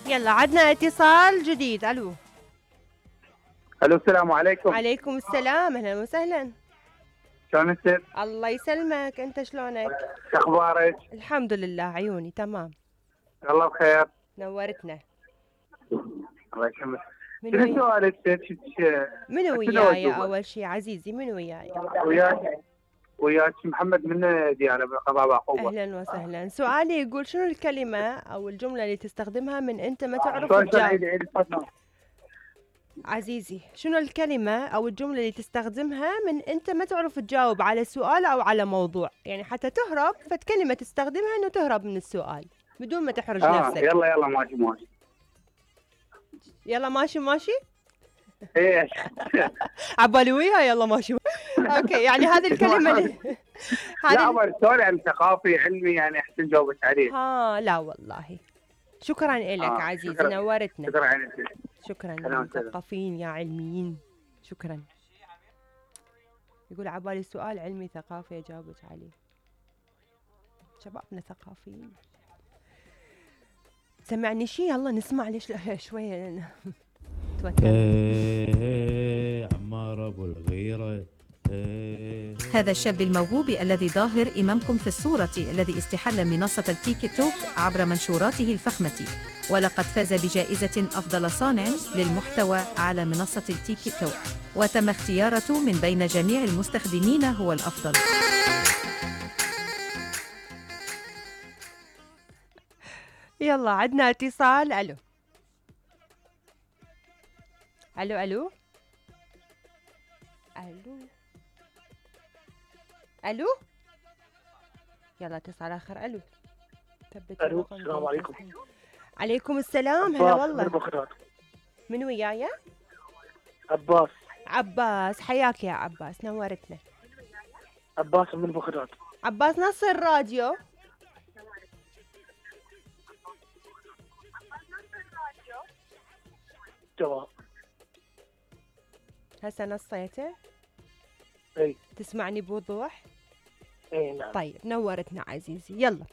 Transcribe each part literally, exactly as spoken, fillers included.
يلا عدنا اتصال جديد. الو الو السلام عليكم. عليكم السلام، اهلا وسهلا. شلون انت؟ الله يسلمك، انت شلونك؟ شو اخبارك؟ الحمد لله عيوني تمام. الله بخير. نورتنا. الله يسلمك. من ويا؟ شنو سؤالك؟ من وياي اول شيء عزيزي؟ من وياي؟ وياك وياك محمد من ديانة بالقضاء بعقوبة. اهلا وسهلا. سؤالي يقول شنو الكلمة او الجملة اللي تستخدمها من انت ما تعرف تجاوب؟ عزيزي شنو الكلمة او الجملة اللي تستخدمها من انت ما تعرف تجاوب على سؤال او على موضوع، يعني حتى تهرب فكلمة تستخدمها انه تهرب من السؤال بدون ما تحرج آه نفسك. يلا يلا ماشي ماشي. يلا ماشي ماشي. ايش؟ عبالي وياها يلا ماشي. اوكي يعني هذه الكلمة اللي لا هذا السؤال يعني ثقافي علمي يعني احسن جاوبت عليه. ها لا والله. شكرا لك آه عزيزي شكرا. نورتنا. شكرا عليك. شكرا مثقفين يا علميين. شكرا. يقول عبالي سؤال علمي ثقافي جاوبت عليه. شبابنا ثقافيين. سمعني شي يلا نسمع ليش شوية توتر. ايه عمار ابو الغيرة. هذا الشاب الموهوب الذي ظاهر إمامكم في الصورة الذي استحل منصة التيك توك عبر منشوراته الفخمة، ولقد فاز بجائزة أفضل صانع للمحتوى على منصة التيك توك، وتم اختيارته من بين جميع المستخدمين هو الأفضل. يلا عدنا اتصال. ألو ألو ألو ألو الو يلا اتصال اخر. الو ثبت. الو السلام عليكم. عليكم السلام. هلا والله. من بغداد. من وياي؟ عباس. عباس حياك يا عباس نورتنا. عباس من بغداد. عباس نص الراديو. تمام. هسه نصيته؟ اي. تسمعني بوضوح؟ اي نعم. طيب نورتنا عزيزي. يلا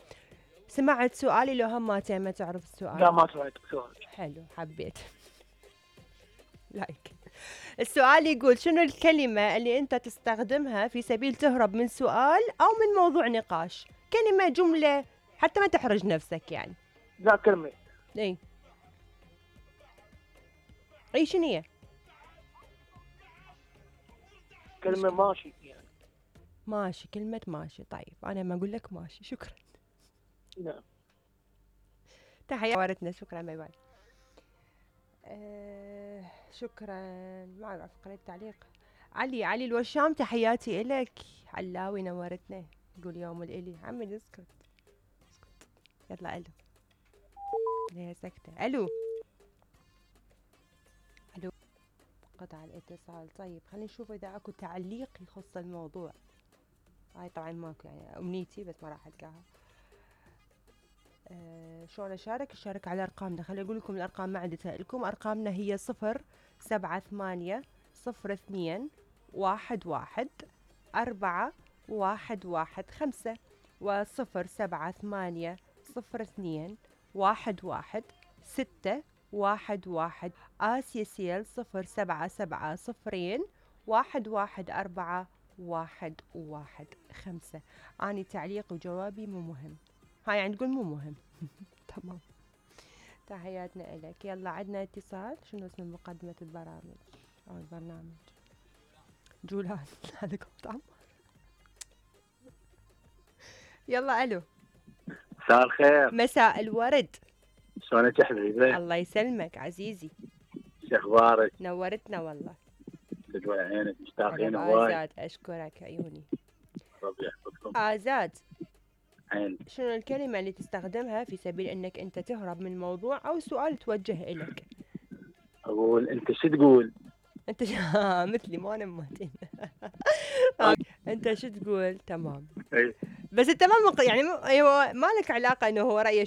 سمعت سؤالي لو هم ما ما تعرف السؤال؟ لا ما سمعت سؤالك. حلو حبيت. لايك. السؤال يقول شنو الكلمة اللي انت تستخدمها في سبيل تهرب من سؤال او من موضوع نقاش؟ كلمة جملة حتى ما تحرج نفسك يعني. لا كلمة. اي اي شنو هي؟ كلمة ماشي يعني. ماشي. كلمة ماشي. طيب أنا ما أقول لك ماشي. شكرا. نعم. تحية ورتنا. شكرا باي باي. أه شكرا. ما أعرف قريت تعليق. علي علي الوشام تحياتي إلك. علاوي نورتنا. يقول يوم الإلي. عمي اسكت اسكت. يلا ألو. ليه سكتة؟ ألو ألو. قطع الاتصال. طيب خلينا نشوف إذا أكو تعليق يخص الموضوع. هاي طبعا ماكو يعني أمنيتي بس ما راح ألقاها. أه شلون أشارك؟ أشارك على أرقامنا. خليني أقول لكم الأرقام ما عندي لكم. أرقامنا هي صفر سبعة ثمانية صفر اثنين واحد واحد أربعة واحد واحد خمسة وصفر سبعة ثمانية صفر اثنين واحد واحد ستة واحد واحد. آسيا سيل صفر سبعة سبعة صفرين واحد واحد أربعة واحد واحد خمسة. أني تعليق وجوابي مو مهم. هاي يعني تقول مو مهم. تمام. تحياتنا إلك. يلا عدنا اتصال. شنو اسم مقدمة البرامج أو البرنامج؟ جولان. هذا قلت عمر. يلا ألو. مساء الخير. مساء الورد. شلونك يا حبيبي؟ الله يسلمك عزيزي. شو اخبارك؟ نورتنا والله. تدوي عينك مشتاقين هواي. آزاد أشكرك عيوني. ربي يحفظكم. آزاد عين. شنو الكلمة اللي تستخدمها في سبيل انك انت تهرب من موضوع او سؤال توجه الك؟ اقول انت شو تقول؟ انت ش... مثلي ما انا مهتم. انت شو تقول؟ تمام. بس انت ما مق... يعني م... ايوه ما لك علاقة انه هو رأيه